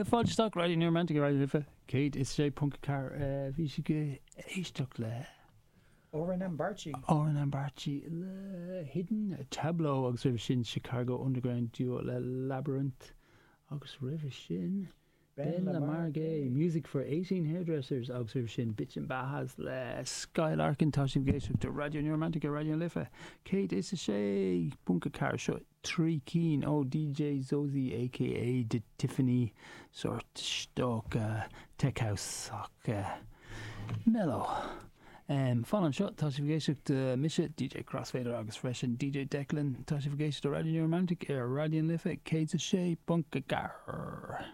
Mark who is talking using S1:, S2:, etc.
S1: Fáilte isteach, Raidió New Romantic ar Raidió na Life 106.4. Bhí sibh ag éisteacht le.
S2: Oren Ambarchi.
S1: Oren Ambarchi le Hidden Tableau agus roimhe sin Chicago Underground Duo le Labyrinth agus roimhe sin Ben LaMar Gay, Music for 18 Hairdressers agus roimhe sin Bitchin' Bajas le Skylarkin. Tá sibh ag éisteacht le Raidió New Romantic ar Raidió na Life 106.4. Seo 3 cinn ó DJ Zozi aka The Tiffany, sórt stoca tech house ach mellow. Fan anseo, tá sibh ag éisteacht le mise, DJ Crossfader agus freisin DJ Declan. Tá sibh ag éisteacht le Raidió New Romantic ar Raidió na Life 106.4.